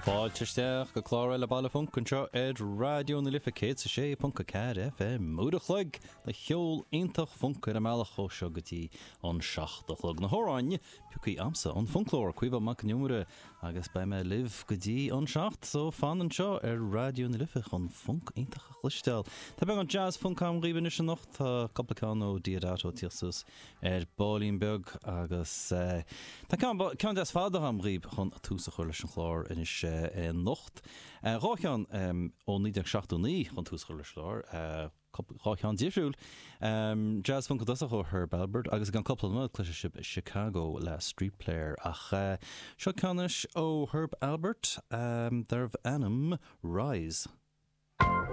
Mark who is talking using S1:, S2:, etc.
S1: Fáilte isteach go clár eile Baile Func anseo ar Raidió na Life 106.4 FM. Uair a chloig de cheol iontach func ar an mbealach ó seo go dtí an 7 a chlog. Na hamhráin pioctha a'msa, an Funclóir, Caoimhe Mac Con Iomaire, agus beidh mé libh go dtí an 7 so fan anseo ar Raidió na Life chun func iontach a chloisteáil. Tá beagán jazz func a'm dhaoibh anois anocht, tá cúpla ceann ó Deodato ag tíocht suas ar baillín beag agus tá ceann, ceann deas fada a'm dhaoibh chun tús a chur leis an chlár anois anocht. Dhá cheann ó 1979 chun tús a chur leis an chlár. Dhá cheann difriúil. Jazz Funk i dtosach ó Herb Alpert agus i gceann cúpla nóiméad cloisfidh sibh Chicago le Street Player. Ach seo ceann anois ó Herb Alpert darbh ainm Rise.